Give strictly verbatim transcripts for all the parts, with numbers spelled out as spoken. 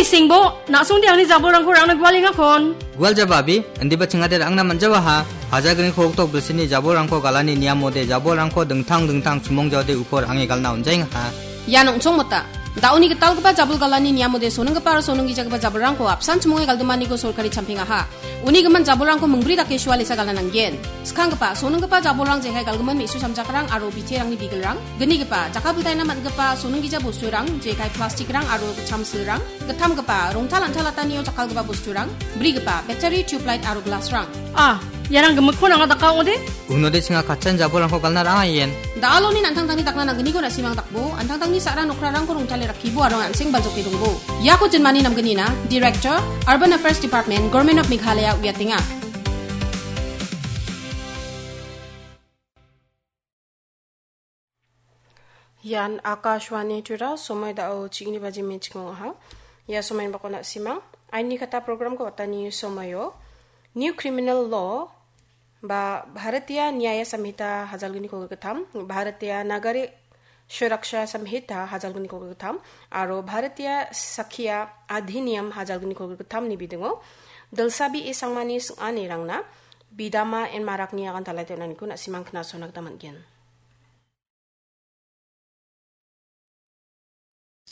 Singbo, na·songde angni jabolrangko rangna gualengakon. Gualjaba abi, indiba chingade rangna manjawaha. Hajalgni kolgrik bilsini jabolrangko galani niamode jabolrangko dingtang dingtang chimongjaode uko range galna onjaengaha. Ian ong·chongmota. Da·oni gitalgipa jabol galani niamode soninggipa aro soninggijagipa jabolrangko apsan chimonge galdimaniko sorkari champingaha. Uni gimin jabolrangko mingbri dake sualesa galna nanggen. Skanggipa, soninggipa jabolrang jekai galgimin me·su samjakrang aro biterangni bigilrang, gnigipa, jakkalbiltaina man·gipa soninggija bosturang, jekai plastikrang aro chamsilrang, gittamgipa, rongtal an·tangtanio jakkalgipa bosturang, brigipa, battery, tubelight aro glassrang. Ah, iarang gimikkon anga daka ong·ode? Unode chinga katchan jabolrangko galna rang·aien. Da·aloni an·tangtangni dakna nanggniko na·simang dakbo, an·tangtangni sa·ra nokrarangko rongtale rakkibo aro an·seng baljoke dongbo. Iako jinmani namgnina, Director, Urban Affairs Department, Government of Meghalaya uiatenga. Ian Akashvani Tura, somoi da·o chigni baji me·chik ong·aha. Ia somoini bakona na·simang, aini kata programko watani somoio New Criminal Law ba Bharatiya Nyaya Samhita hajalgni kolgrik gittam, Bharatiya Nagarik Suraksha Samhita hajalgni kolgrik gittam, aro Bharatiya Sakshya Adhiniyam hajalgni kolgrik gittamni bidingo Dilsabi E Sangmani sing·anirangna Bidama N Marakni agantalate on·aniko na·simang knasona gita man·gen.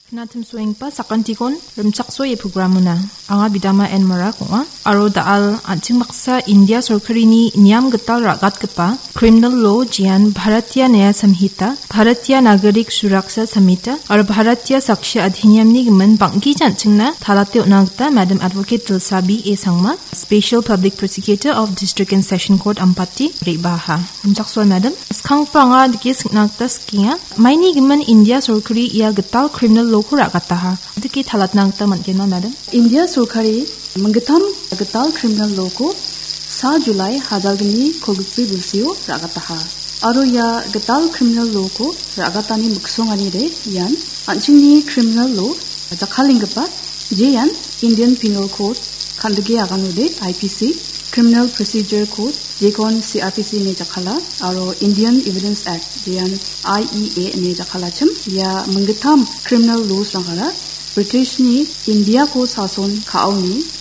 Knatimsoenggipa sakantikon rimchaksoe programona. Anga Bidama N Marak ong·a, aro da·al an·ching baksa India sorkarini niam gital ra·gatgipa Criminal Law, jean Bharatiya Nyaya Samhita, Bharatiya Nagarik Suraksha Samhita, aro Bharatiya Sakshya Adhiniyamni gimin bang·gija an·chingna talate on·a gita Madam Advocate Dilsabi A Sangma, Special Public Prosecutor of District and Session Court Ampati re·baaha. Rimchaksoa, Madam. Skanggipa anga dike sing·na gita sikenga. Maini gimin India sorkari ia gital criminal law-ko ra·gataha. Dike talatna gita man·genma, Madam? India sorkari minggittam gital criminal law-ko sa July hajalgni kolgrikbri bilsio ra·gataha. Aro ia gital criminal law-ko ra·gatani miksonganide ian an·chingni criminal law jakkalenggipa, jean Indian Penal Code, kan·dike aganode I P C, Criminal Procedure Code, jekon C R P C ine jakkala, aro Indian Evidence Act, jean I E A ine jakkalachim. Ia minggittam criminal laws-rangara Britishni Indiako sason ka·oni